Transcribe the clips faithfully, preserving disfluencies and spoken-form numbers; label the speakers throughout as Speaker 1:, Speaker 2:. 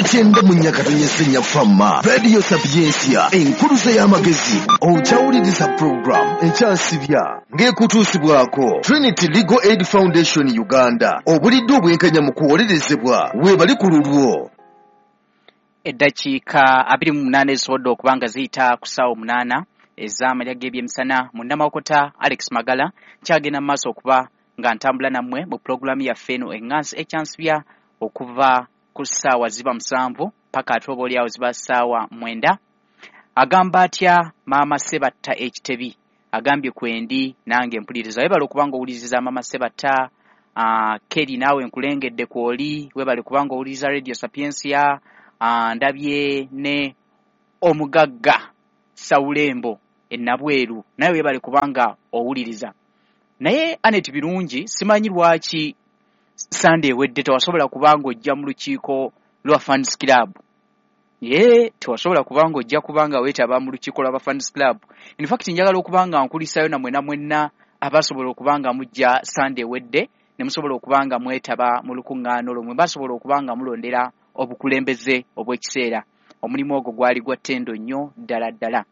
Speaker 1: Kyenda mu Nyakatonyese Nyafama Radio Sapiensia, enkuluze y'amagezi. Okyawuliriza program Ekyansibya ng'ekutuusibwako Trinity Legal Aid Foundation Uganda. Obulidde obwenkanya mu kuwolerezebwa weebali ku lulwo.
Speaker 2: Eddakiika abiri mu munaana ezisobodde okuba nga ziyita ku ssaawa omunaana ez'amalya g'ebyemisana. Munnamawokota Alex Magala kyagenda mu maaso okuba nga ntambula nammwe mu pulogulaamu yaffe eno eŋŋansi Ekyansibya okuva ku ssaawa ziba musanvu paka ate oba oliawo ziba ssaawa mwenda. Agamba atya Maama Sebatta Ekitebi? Agambye kwendi nange mpuliriza. Webale okuba nga owuliriza Maama Sebatta. Uh, Keri naawe nkulengedde kwoli, webale kubanga owuliriza Radio Sapiensia. Uh, ndabye ne omugagga Sawulembo enabweru, naye webale kubanga owuliriza. Naye Anet Birungi, simanyi lwaki Sunday ewedde tewasobola kubanga ojja mu lukiiko lwa Fans Club. Ye tewasobola kubanga ojja kubanga weetaba mu lukiiko lwa Fans Club. In fact njagala okubanga nkulisayo namwe namwenna abasobola okubanga mujja Sunday ewedde ne musobola okubanga mwetaba mu lukuŋŋaana olwo, mwe basobola okubanga mulondera obukulembeze obw'ekiseera. Omulimu ogwo gwali gwa ttendo nnyo ddala ddala.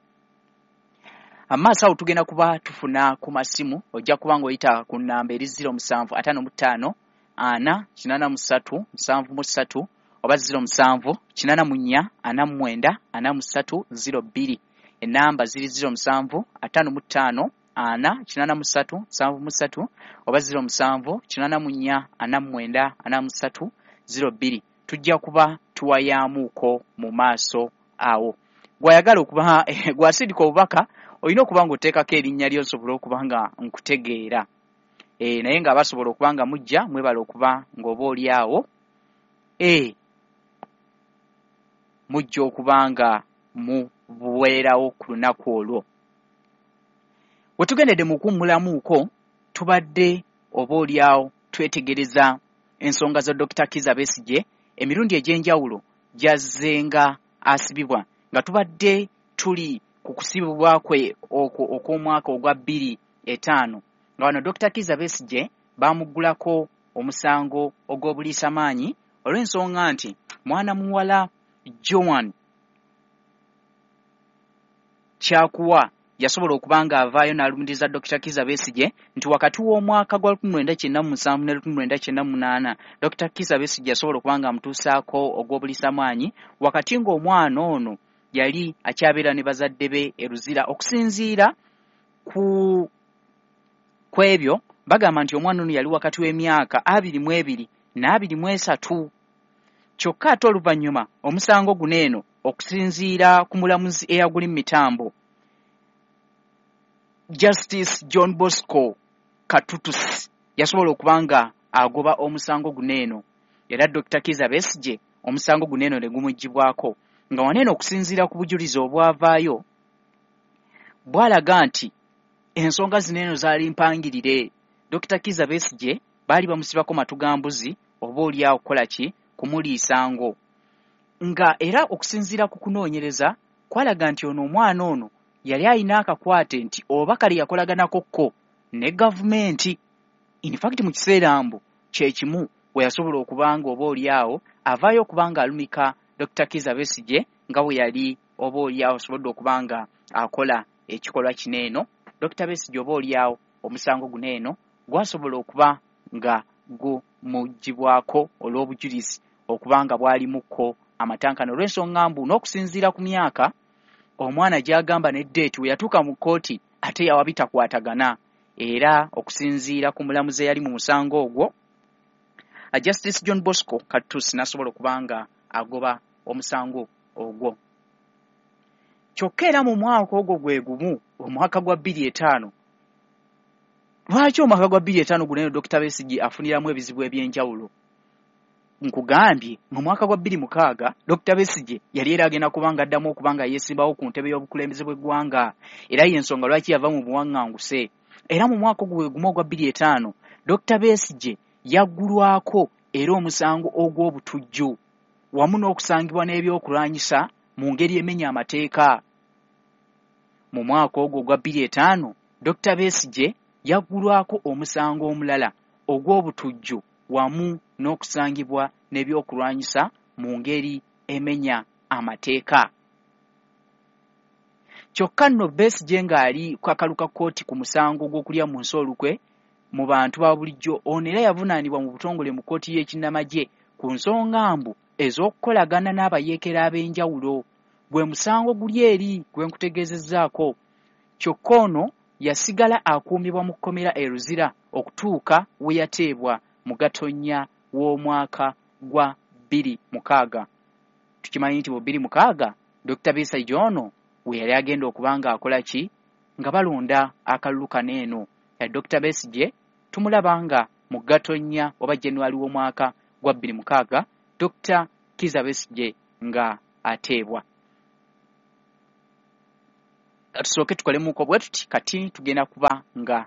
Speaker 2: Amaaso awo tugenda kuba tufuna ku masimu, ojja kuba ng'oyita ku nnamba eri ziro musanvu ataano mu ttaano ana kinaana mu ssatu musanvu mu ssatu oba ziro musanvu kinaana mu nnya ana mu mwenda ana mu ssatu ziro bbiri. Ennamba ziri ziro musanvu ataano mu ttaano ana kinaana mu ssatu musanvu mu ssatu oba ziro musanvu kinaana mu nnya ana mu mwenda ana mu ssatu ziro bbiri. Tujja kuba tuwayaamuuko mu maaso awo. Gwayagala okuba gwasindika obubaka olina okuba ng'oteekako erinnya lyo nsobole okuba nga nkutegeera. E, naye nga basobola okuba nga mujja mwebale okuba ng'oba oli awo e, mujja okuba nga mubuweerawo ku lunaku olwo. We tugendedde mu kuwummulamuuko tubadde oba oli awo twetegereza ensonga za Dokita Kizza Besigye emirundi egy'enjawulo gy'azzenga asibibwa, nga tubadde tuli ku kusibibwa kwe okwo okw'omwaka ogwa bbiri etaano, nga wano Dokita Kizza Besigye baamuggulako omusango ogw'obuliisamaanyi olw'ensonga nti mwana muwala Joan Kyakuwa yasobola okuba ng'avaayo n'alumiriza Dokita Kizza Besigye nti wakati w'omwaka gwa lukumi lwenda kyenda mu musanvu ne lukumi lwenda kyenda mu munaana Dokita Kizza Besigye yasobola okuba ng'amutuusaako ogw'obuliisamaanyi wakati ng'omwana ono yali akyabeera ne bazadde be e Luzira. Okusinziira ku ku ebyo bagamba nti omwana ono yali wakati w'emyaka abiri mu ebiri n'abiri mu esatu. Kyokka ate oluvannyuma omusango guno eno okusinziira ku mulamuzi eyaguli mu mitambo Justice John Bosco Katutusi yasobola okuba nga agoba omusango guno eno, era Dokita Kizza Besigye omusango guno eno ne gumuggyibwako, nga wano eno okusinziira ku bujulizi obwavaayo bwalaga nti ensonga zino eno zaali mpangirire. Dokita Kizza Besigye baali bamusibako matu ga mbuzi oba oli awo kukola ki, kumuliisa ngo, nga era okusinziira ku kunoonyereza kwalaga nti ono omwana ono yali alina akakwate nti oba kale yakolaganako ko ne gavumenti. In fact mu kiseera mbu kye kimu we yasobola okuba nga oba oli awo avaayo okuba nga alumika Dokita Kizza Besigye nga bwe yali oba oli awo asobodde okuba nga akola ekikolwa kino eno. Dokita Besigye oba oli awo omusango guno eno gwasobola okuba nga gumuggyibwako olw'obujulizi okuba nga bwalimukko amatankane olw'ensonga mbu n'okusinziira ku myaka omwana gy'agamba ne ddeeti we yatuuka mu kkooti ate yawa bitakwatagana. Era okusinziira ku mulamuzi eyali mu musango ogwo Justice John Bosco Katutusi n'asobola okuba nga agoba omusango ogwo. Kyokka era mu mwaka ogwo gwe gumu, omwaka gwa bbiri etaano, lwaki omwaka gwa bbiri etaano guno eno Dokita Besigye afuniramu ebizibu eby'enjawulo? Nkugambye mu mwaka gwa bbiri mukaaga Dokita Besigye yali era agenda kuba nga addamu okuba nga yeesimbawo ku ntebe y'obukulembeze bw'eggwanga, era y'ensonga lwaki yava mu buwaŋŋanguse. Era mu mwaka ogwo gwe gumu ogwa bbiri etaano Dokita Besigye yaggulwako era omusango ogw'obutujju wamu n'okusangibwa n'ebyokulwanyisa mu ngeri emenya amateeka. Mu mwaka ogwo ogwa bbiri etaano Dokita Besigye yaggulwako omusango omulala ogw'obutujju wamu n'okusangibwa n'ebyokulwanyisa mu ngeri emenya amateeka. Kyokka nno Besigye ng'ali ku kakalu ka kkooti ku musango gw'okulya mu nsi olukwe mu bantu ba bulijjo, ono era yavunaanibwa mu butongole mu kkooti y'ekinnamagye ku nsonga mbu ez'okukolagana n'abayeekera ab'enjawulo. Gwe musango guli eri gwe nkutegeezezzaako. Kyokka ono yasigala akuumibwa mu kkomera e Luzira okutuuka we yateebwa mu Gatonnya w'omwaka gwa bbiri mukaaga. Tukimanyi nti mu bbiri mukaaga Dokita Besigye ono we yali agenda okuba ng'akola ki, nga balonda akalulu kano eno. Ya Dokita Besigye tumulaba nga mu Gatonnya oba January w'omwaka gwa bbiri mukaaga Dokita Kizza Besigye nga ateebwa. Tusooke tukolemuko bwe tuti, kati tugenda kuba nga